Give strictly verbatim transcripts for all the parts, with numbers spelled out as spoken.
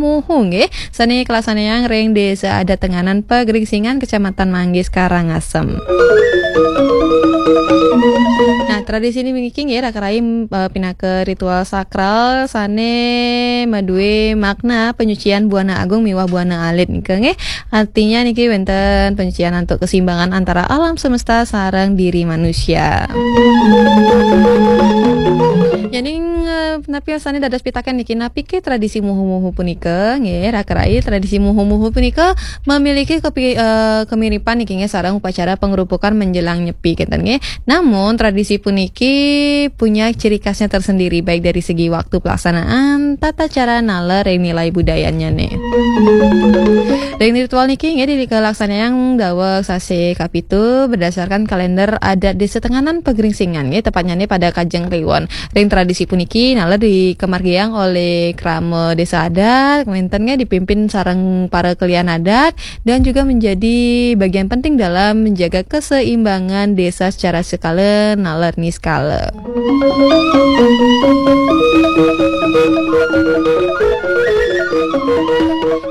Muhu nggih, sane kalaksanayang ring Desa Adat Tenganan Pagringsingan, Kecamatan Manggis, Karangasem. Nah, tradisi niki nggih, raka rai, eh, pinaka ritual sakral sane madue makna penyucian Buana Agung miwah Buana Alit nika nggih. Artinya niki wenten penyucian antuk keseimbangan antara alam semesta sareng diri manusia. Yening, eh, napi sane dados pitaken niki, napi ke tradisi muhu-muhu punika? Nggih, raka rai, tradisi muhu-muhu punika memiliki kepi-, eh, kemiripan niki nggih sareng upacara pengrupukan menjelang nyepi kenten nggih. Namun tradisi puniki punya ciri khasnya tersendiri baik dari segi waktu pelaksanaan, tata cara naler ring nilai budayanya nih. Ring ritual niki nggih dikalaksanayang daweg sasih kapitu berdasarkan kalender adat Desa Tenganan Pagringsingan nggih, tepatnya nih pada Kajeng Kliwon. Ring tradisi puniki naler dikemargiang oleh krama desa adat, wenten nggih dipimpin sareng para kelian adat dan juga menjadi bagian penting dalam menjaga keseimbangan desa secara sekala naler niskala.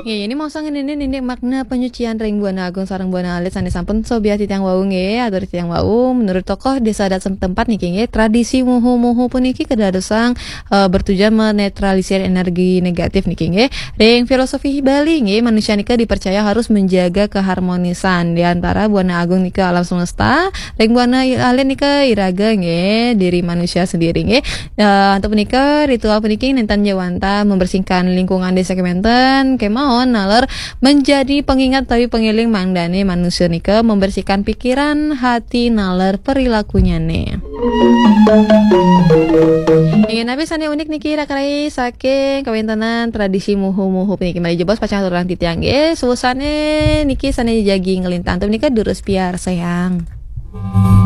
Nggih, ini mongso ngenenin indik makna penyucian ring Buana Agung sareng Buana Alit sane sampun sobiah titiang wau nggih, atur titiang wau. Menurut tokoh desa adat setempat niki nggih, tradisi muhu-muhu puniki kadadosang, eh, bertujuan menetralisir energi negatif niki nggih. Ring filosofi Bali nggih, manusia nika dipercaya harus menjaga keharmonisan di antara Buana Agung nika alam semesta, ring Buana Alit nika iraga nggih, diri manusia sendiri nggih. Eh, antuk punika, ritual puniki nenten jawanta membersihkan lingkungan desa kementen, kemawon naler menjadi pengingat utawi pengeling mangdane manusia nika membersihkan pikiran, hati, naler perilakunyane. Inggih napi sane unik niki raka rai saking kawentenan tradisi muhu-muhu puniki malih jebos pacang aturang titiang nggih. Suwusane niki sane jagi nglintang antuk punika durus piarsayang.